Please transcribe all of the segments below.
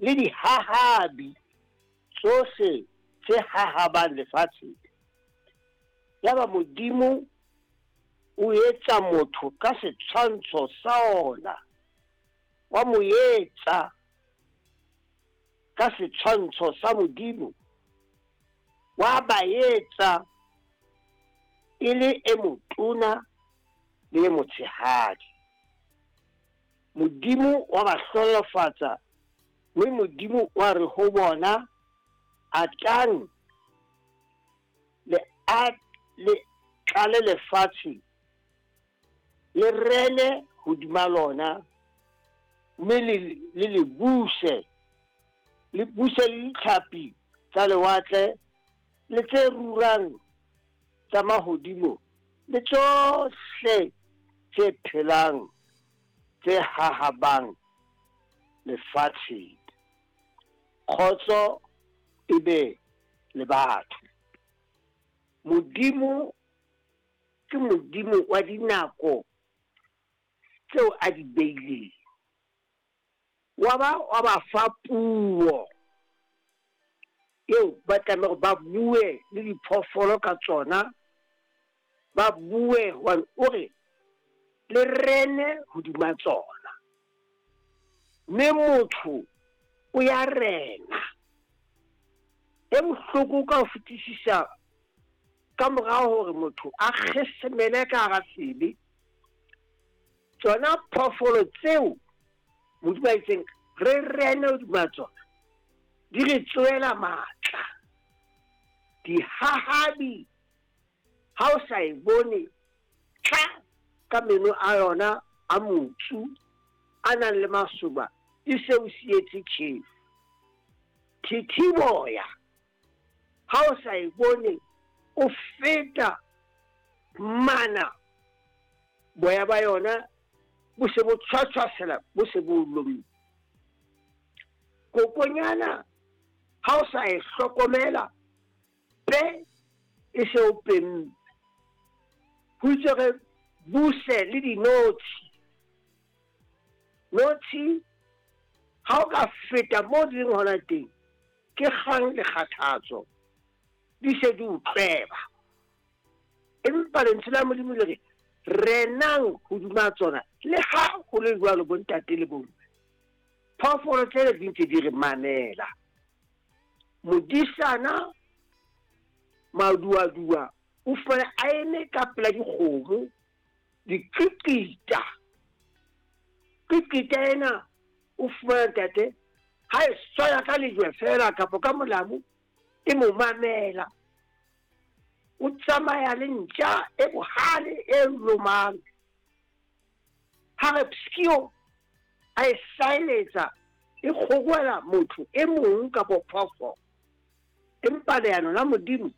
le dihahabi tsohle tse hahabang lefatsheng. Yaba Modimo o etsa motho ka setshwantsho sa ona, wa mo etsa ka setshwantsho sa Modimo, wa ba etsa e le e motona le e motshehadi. Modimo wa ba hlohonolofatsa, mme Modimo wa re ho bona, Atang le a le tlale lefatshe, le rene hodima lona, mme le le le buse, le buse le ditlhapi tsa lewatle le tse rurang tsa mahodimo le tsohle tse phelang tse hahabang lefatsheng. Kgotso e be le batho. Modimo ke Modimo wa dinako tseo a di beileng. Wa ba wa ba fa puo eo ba tlameha hore ba bue le diphoofolo ka tsona, ba bue hobane o re le rene hodima tsona. Mme motho o ya rena. E bohloko ka ho fetisisa ka mora hore motho a kgesemele ka hara sebe, tsona phoofolo tseo Modimo a itseng re rene hodima tsona di re tsoela matla. Dihahabi ha o sa e bone tla ka meno a yona a motsu a nang le masoba e se o sietse tjhefu. Thithiboya ha o sa e bone o feta mana boya ba yona bo se bo tshwatshwasela bo se bo lomme. Kokonyana ha o sa e hlokomela pe e se o pemme. Ho itswe re buse le dinotshi. Notshi ha o ka feta mo di leng hona teng ke kgang le kgathatso di se di o tlweba. Empa lentswe la Modimo le re renang hodima tsona le ha ho le jwalo bontate le bomme. Phoofolo tsena di ntse di re mamela. Modisana maduadua o fumane a eme ka pela dikgomo diqiqita. Qiqita ena o fumana ntate ha e swaya ka lejwe fela kapa ka molamu e mo mamela. O tsamaya le ntja e bohale e lomang. Ha re pskio a e saeletsa e kgorwela motho e mong kapa phoofolo. Empa leano la Modimo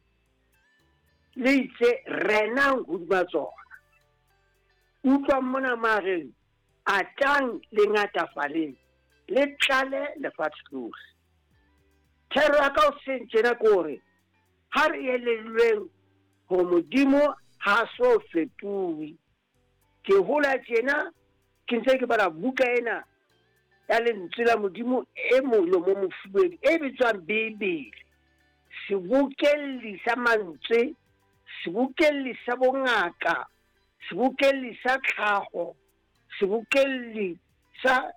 le itse renang hodima tsona. Utlwang mona mareng atang le ngatafaleng le tlale lefatshe lohle. Thero ya ka hoseng tjena ke hore ha re elellweng hore Modimo ha so fetohe. Ke hola tjena ke ntse ke bala buka ena ya lentswe la Modimo e molomo mofubedu e bitswang Bibele. Sebokelli sa mantswe, sebokelli sa bongaka, sebokelli sa tlhaho, sebokelli sa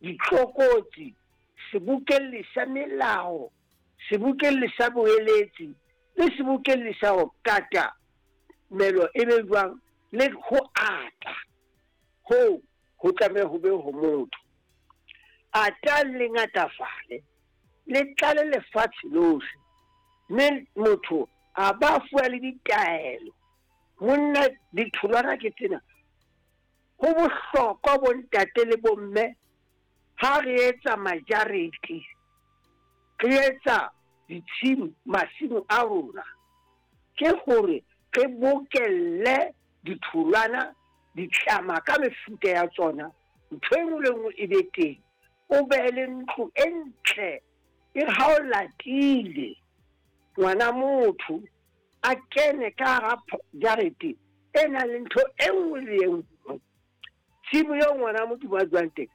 ditlokotsi, sebokelli sa melao, sebokelli sa boeletsi le sebokelli sa ho kata melo e be jwang le ho ata. Hoo ho tlameha ho be ho motho. Atang le ngatafale, le tlale lefatshe lohle. Mme motho a ba fuwa le ditaelo. Monna, ditholwana ke tsena. Ho bohlokwa bontate le bomme ha re etsa majarete, re etsa ditshimo, masimo a rona, ke hore re bokelle ditholwana, ditlama ka mefuta ya tsona, ntho e nngwe le nngwe e be teng. O be le ntlo e ntle e re ha o latile ngwana motho a kene ka hara jarete e nang le ntho e nngwe le e nngwe. Tshimo eo ngwana Modimo a dulang teng